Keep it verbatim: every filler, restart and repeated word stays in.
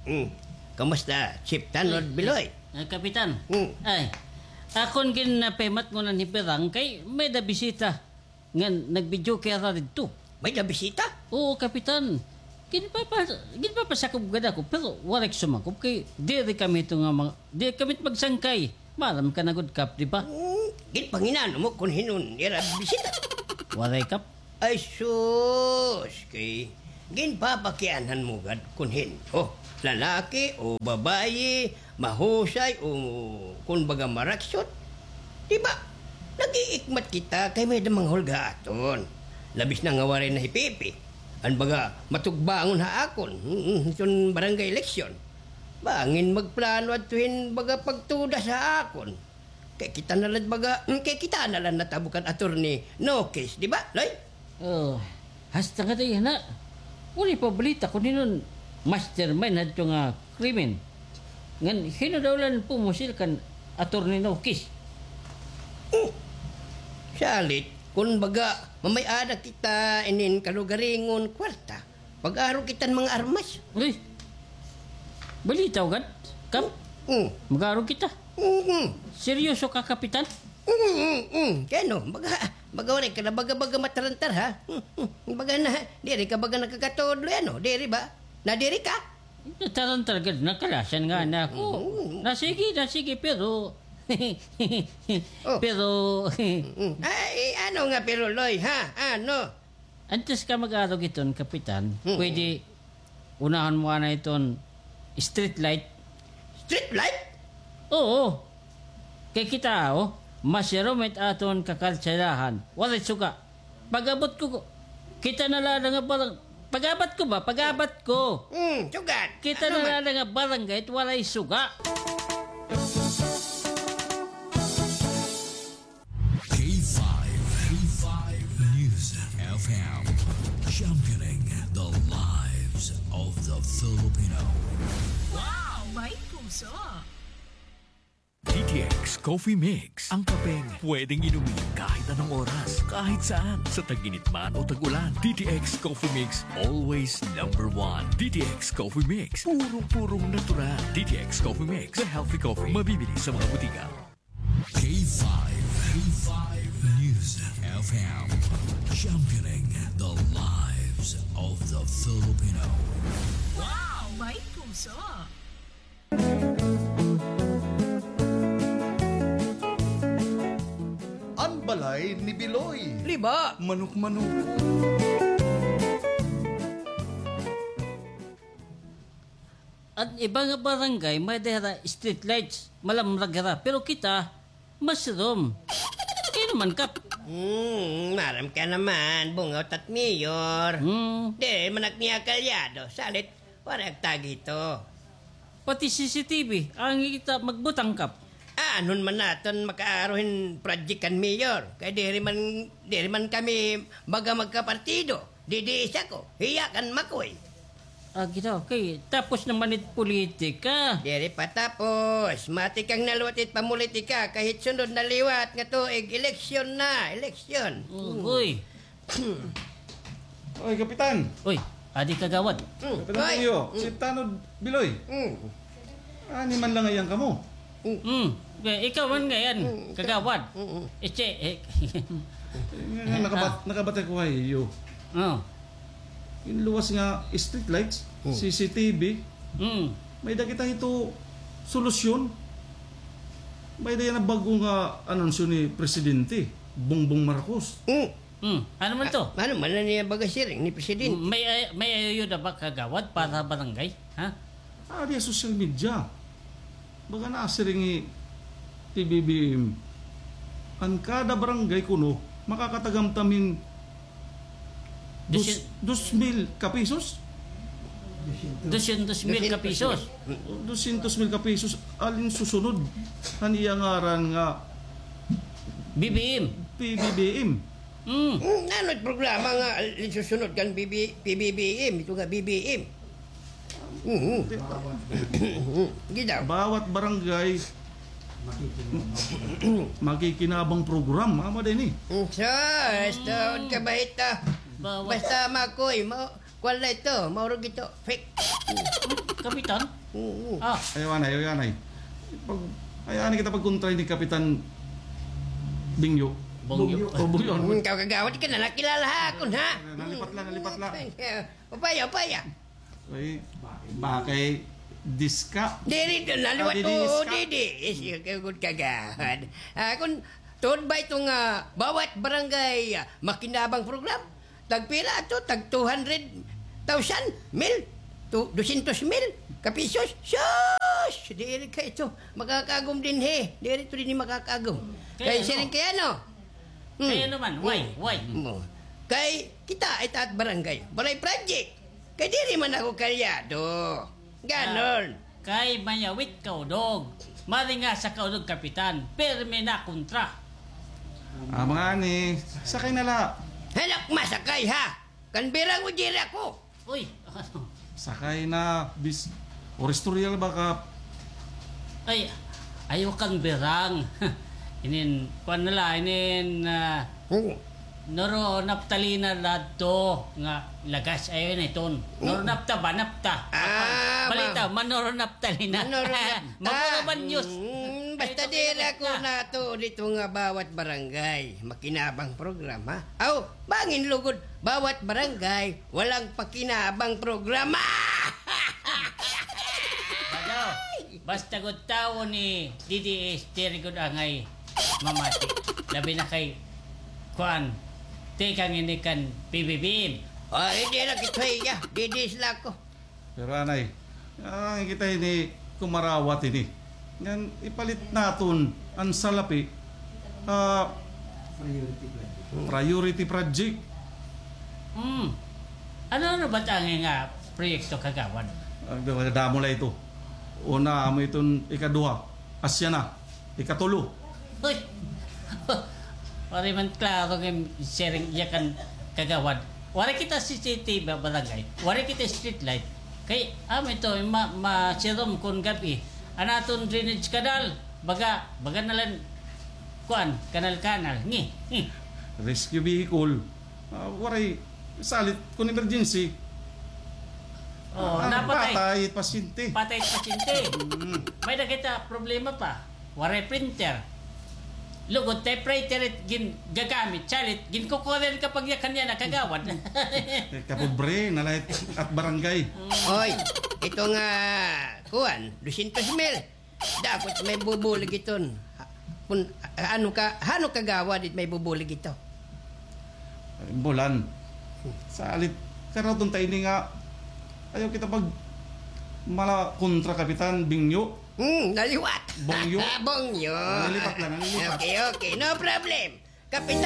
Hmm. Kumusta, Chief Tanod Biloy? Ay, Kapitan. Hmm. Ay, akon ginapahimatngon an hipiran kay may-ada bisita ngan nag-videoke hira didto. May-ada bisita? Oo, Kapitan. Ginpapa-, ginpapasakop gad ako, pero waray ko sumakop kay diri kami hito nga mga, diri kami magsangkay. Maaram ka na gud, Kap, di ba? Hmm, ginpanginano mo kon hin-o an ira bisita? Waray, Kap. Ay sus, kay ginpapakianhan mo gad kon hin-o, lalaki o babayi, mahusay o kon baga maraksot. Di ba? Nag-iikmat kita kay may-ada mga hulga aton. Labis na nga waray na hi Pipi. An baga matugbangon ha akon, mm, hiton barangay eleksyon. Bangin magplano adto hin baga pagtudas ha akon. Kay kita na la baga, mm, kay kita na la natabo kan Attorney Nokis, di ba, Loy? Oh, hasta ngadi yana. Waray pa balita kon hin-o an mastermind hadto nga krimen. Ngan hin-o daw la an pumusil kan Attorney Nokis? Hmm. Salit, kon baga, mamay-ada kita inin kalugaringon kwarta. Mag-aro kita hin mga armas. Uy, balitaw gad, Kap? Mm. Mag-aro kita. Mm. Seryoso ka, Kapitan? Mm, mm, mm. Kay ano, baga, baga waray ka na baga-baga matarantar, ha? Mm, mm. Baga na, diri ka baga nakakatudlo, ano? Diri ba? Nadiri ka? Natarantar gad, nakalasan nga na ako. Mm. Na sige, na sige, pero, Oh. pero, Mm. Ay, ano nga pero, Loy, ha? Ano? Antes ka mag-arog hiton, Kapitan, Mm. pwede unahon mo anay hiton street light. Street light? Oo. Kay kita, oh, masirom it aton kakalsadahan. Waray suga. Pag-abot ko, kita na la nga barang-, pag-abot ko ba? Pag-abot ko. Hmm, sugad. Kita na la nga barangay it waray suga. K five, K five News F M, championing the lives of the Filipino. Wow! May puso! D T X Coffee Mix, ang kapeng pwedeng inumin kahit anong oras, kahit saan, sa tag-init man o tag-ulan. D T X Coffee Mix, always number one. D T X Coffee Mix, purong-purong natural. D T X Coffee Mix, the healthy coffee, mabibili sa mga butika. K five, K five News F M, championing the lives of the Filipino. Wow! May puso! An balay ni Biloy. Liba. Manok-manok. An iba nga barangay, may-ada hira street lights, malamrag hira. Pero kita, masirom. Kay ano man, Kap? Hmm, maaram ka naman, bungaw it at mayor. Hmm. Diri man ak niya kalyado, salit, waray ak tagi hito. Pati C C T V, angay kita magbutang, Kap. Aanhon man naton makaaro hin project kan mayor, kay diri man, diri man kami baga magkapartido. Didi isa ko, hiya kan Makoy. Ah, kita, okay. Tapos naman it politika. Diri pa tapos. Mati kang naliwat it pamolitika, kay hit sunod na liwat nga tuig, eleksyon na, eleksyon. Ugoy. Oy, Kapitan. Oy, adi kagawad. Hmm. Kapitan Oy. Julio, Hmm. si Tanod Biloy. Hmm. Ani man la ngay-an kamo. Hmm. Okay, ikaw man ngay-an, Hmm, ikaw. kagawad. Hmm, hmm. Iche, eh. Nga, nga, nakabat-, nakabati ko ha iyo. Oh. Ginluwas nga street lights, Hmm. C C T V. Hmm. May-ada kita hito solusyon. May-ada yana bag-o nga anunsyo ni Presidente Bongbong Marcos. Hmm. Hmm. Ano man to? Ah, ano man an iya baga siring ni Presidente? May, may ayuda ba kagawad para barangay? Ha? Ah, diya social media. Baga nasiring ni P B B M, an kada barangay kuno makakatagamtam hin dos, Dosyen-, dos mil ka pesos? Dosyentos mil ka pesos. Dosyentos mil ka pesos, alin susunod han iya ngaran nga B B M. P B B M. Hmm. Hmm, ano it programa nga isusunod kan B B, P B B M, ito nga B B M? Mhm. Di ba? Ginaw. Bawat barangay makikinabang program, amo din eh. Hmm, sus, tuod ka ba ito? Bawat Basta Makoy, ma-, Kuan la ito, maurog ito. Fake. Kapitan? Oo. Ah. Ayaw anay, ayaw anay. Pag, ayaw anay kita pagkontra ni Kapitan Bingyo. Bongyo. O, Bongyo. Hmm, ikaw kagawad ka na, nakilala ha akon, ha? Nalipat la, nalipat la. Upaya, upaya. Ay, bakay diska. Diri, naliwat, didi, oo, iska. Didi. Is, kagud kagawad. Ah, kun tuod ba ito nga bawat barangay, ah, makinabang program? Tagpila ato? Tag two hundred thousand? Mil? Tu-, dosyentos mil ka pisos? Sus! Diri kay ito makakaagom dinhi. Diri ito dinhi makakaagom. Kay siring kay ano? Hmm. Kay ano man? Why? Why? Mo. Kay kita, ita at barangay, balay project. Kay diri man ako kalyado. Ganon. Ah, kay mayawit ka udog. Mari nga sa kaudog, Kapitan. Pirmi na kontra. Ah, mga ani, sakay na la. Hanak masakay, ha? Kan birang o diri ako. Uy, ano? Sakay na, bis, or istorya la ba ka? Ay, ayaw kan birang. Inin, kuan na la, inin, ah, Oo. Noro naptalina la adto nga lagas, ayaw na iton. Oo. Noro napta ba? Napta. Ah, balita, ma-, manoro naptalina. Manoro napta. Maguro man news. Mm, basta diri ako natuod dito nga bawat barangay makinabang programa. Aw, bangin lugod, bawat barangay walang pakinabang programa. Ano? Basta gud tawo ni D D S, diri gud angay mamati. Labi na kay, kuan, tikang ini kan P B B M. Ah, hindi na kita iya. D D S la ako. Pero anay, ah, kita ini kumarawat ini. Ngan ipalit naton an salapi, ah, priority project. Hmm. Ano, ano ba it angay nga proyekto, kagawad? Ah, damo la ito. Una, amo iton ikaduha. Asya na. Ikatulo. Uy! Waray man klaro nga sharing iya kan kagawad. Waray kita C C T V ba-, barangay. Waray kita street light. Kay, amo ito, ma-, masirom kon gab-i. An aton drainage canal, baga, baga na la, kuan, kanal-kanal. Ngi, ngi. Rescue vehicle. Ah, waray salit kon emergency. Oh, ah, napatay. Patay it pasyente. Patay it pasyente. Mm. May-ada kita problema pa. Waray printer. Lugod, typewriter it gin-, gagamit, salit, ginkukuha la ka pagyakan niya na kagawad. Kapobre, nalahit at barangay. Mm. Oy, ito nga, kuan, dosyentos mil. Dapat may bubulig iton. Ha, kun, ano ka, ano kagawad it may bubulig ito? Bulan. Salit, karaton ta ini nga, ayaw kita pag mala kontra Kapitan Bingyo. Hmm, naliwat. Bongyo. Bongyo. Nalilipat lang, nalilipat. Okay, okay. No problem. Kapitan